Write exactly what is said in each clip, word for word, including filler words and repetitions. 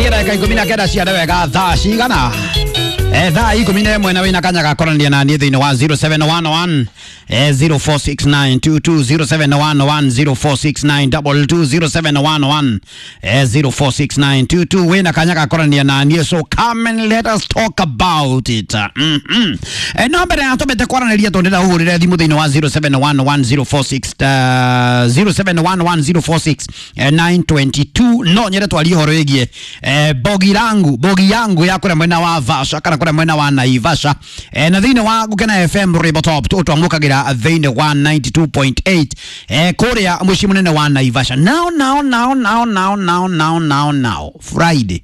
Tigania ndagĩka ikũmi na kenda ciare wega thaa cigana Eh, thaa ikũmi na ĩmwe na wĩna kanya ga kwaranĩria na niĩ thĩinĩ wa zero seven one one eh, zero four six nine two two zero seven one one zero four six nine double two zero seven one one eh, zero four six nine two two wĩna kanya ga kwaranĩria na niĩ, so come and let us talk about it. mm -hmm. Eh, no mbere ya tũmĩte kwaranĩria tondũ ndĩra ũhũrĩre thimũ thĩinĩ wa zero seven one one zero four six uh, zero seven one one zero four six eh, nine twenty two no nyende twarie ũhoro wĩgiĩ eh, bogi rangu bogi yangu ya kũrĩa mwena wa Vasha kana kũrĩa mwena wa Naivasha eh, na thĩinĩ wa Gũkena F M Rwĩmbo Top twamũkagĩra thĩinĩ wa ninety two point eight eh, kũrĩa mũciĩ mũnene wa Naivasha. Now now now now now now now now now Friday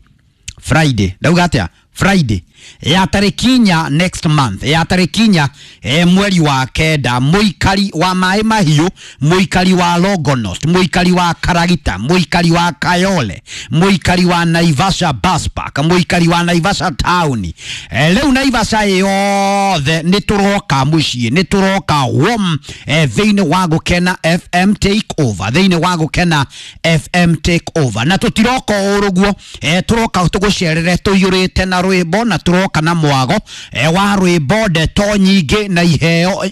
Friday ndauga atĩa Friday ya tarĩki inya next month ya tarĩki inya eh, mweri wa kenda mũikari wa maĩ mahiũ mũikari wa Longonot mũikari wa Karagita mũikari wa Kayole mũikari wa Naivasha bus park mũikari wa Naivasha town eh, rĩu Naivasha yothe nĩ tũroka mũciĩ nĩ tũroka warm eh, thĩinĩ wa Gũkena F M take over thĩinĩ wa Gũkena F M take over na tũtiroka ũrũguo eh, tũroka tũgũcerere tũiyũrĩte na rwĩmbo na tũroka na mwago eh, wa rwĩmbo ndeto nyingĩ na iheo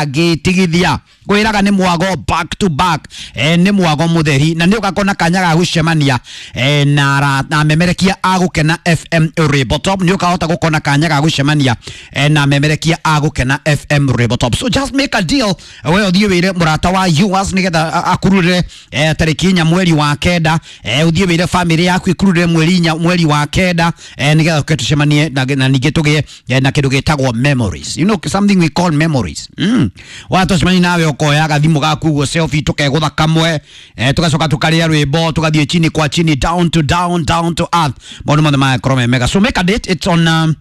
ũtangĩtigithia kwĩraga nĩ mwago back to back eh, nĩ mwago mũtheri na nĩ ũgakona kanya ga gũcemania eh, na ra- na memerekia a Gũkena F M Rwĩmbo Top nĩ ũkahota gũkona kanya ga gũcemania eh, na memerekia a Gũkena F M Rwĩmbo Top. So just make a deal we ũthiĩ wĩre mũrata wa yours nĩgetha a- akururĩre eh, tarĩki inya mweri wa kenda eh, ũthiĩ wĩre famĩlĩ yaku ĩkururĩre mweri inya mweri wa kenda eh, nĩgetha tũke tũcemanie na, na ningĩ tũgĩe eh, na kĩndũ gĩtagwo memories, you know something we call memories. mm. Watũcemania nawe ũkoya gathimũ gaku ũguo selfie tũkegũtha kamwe eh, tũgacoka tũkarĩa rwĩmbo tũgathiĩ chini kwa chini down to down down to earth maũndũ mothe magakorwo me mega. So make a date, it's on um,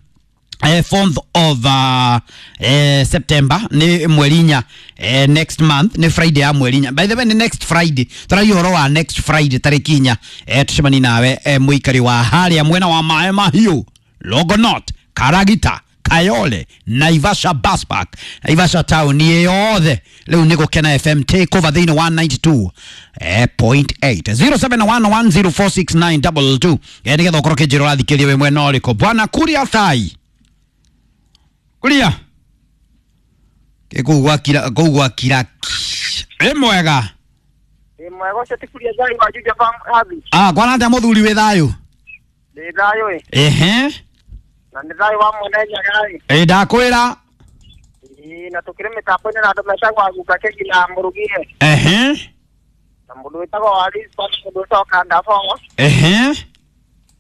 eh, fourth of uh, eh, September nĩ mweri inya eh, next month nĩ Friday ya mweri inya, by the way nĩ next Friday tũragia ũhoro wa next Friday tarĩki inya eh, tũcemanie nawe eh, mũikari wa harĩa mwena wa maĩ mahiũ Longonot Karagita Kayole Naivasha bus park Naivasha town yothe rĩu nĩ Gũkena F M take over thĩinĩ wa ninety two eh, point eight zero seven one one zero four six nine double two eh, nĩgetha ũkorwo kĩnjĩra ũrathikĩria wĩ mwena ũrĩkũ bwana Kuria Thai Kuria kũu gwakira kũu gwakira ĩ mwega Ĩ mwega ũcio ti Kuria Thai wa Juja Farm Habi. ah kwana atĩa mũthuri wĩ thayũ Ndĩ thayũ ĩ. ehe Na nĩ thayũ wa mwene Nyaga ĩ. ĩ ndakwĩra Ĩ na tũkĩrĩ mĩtambo-inĩ na andũ metagwo Aguka Kegi na Mũrugie. ehe Na mũndũ wĩtagwo Waris na mũndũ wĩtagwo Kandabo. ehe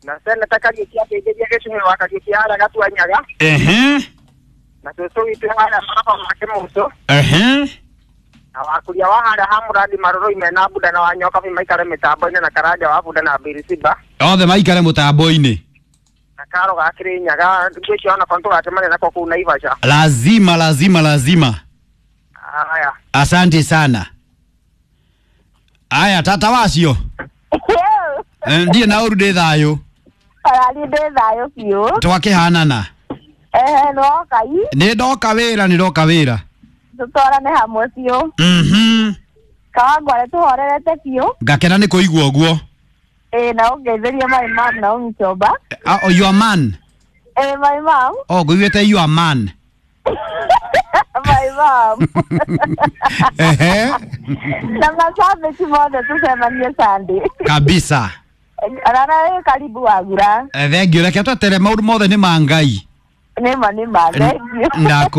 Na seneta Kariũki akĩingĩria gĩcũhĩ wa Kariũki harĩa Gatua Nyaga. ehe Na cũcũ witũ harĩa maraba ma Kĩmũcũ. ehe Na wakuria wa harĩa ha Mũrandi Marũrũi mena Buda na Wanyokabi maikare mĩtambo-inĩ na Karanja wa Buda na Birisiba. othe maikare mũtambo-inĩ Na Karo ga Kĩrĩnyaga ngwĩciria onako nĩtũgacemania nako kũu Naivasha. lazima lazima lazima. Haya. Asante sana. Aya tata wacio Eh, ndiĩ na ũru ndĩ thayũ Arari ndĩ thayũ biũ. twakĩhanana Ehe nĩwoka i nĩ ndoka wĩra nĩ ndoka wĩra tũtwarane hamwe biũ. mhm Kawangware tũhorerete biũ. ngakena nĩ kũigua ũguo. Ĩĩ na ũngeithĩrie my mom na ũmĩchomba. Ah, oh, your man. Ĩĩ my mom. Oh ngũiguĩte your man. My mom. Ehe Na mashabiki mothe tũcemanie Sunday. kabisa. Rara wĩ karibu wagura. Eh, thank you reke twetere maũndũ mothe nĩ ma Ngai. Nĩma nĩma thank you. Ndaku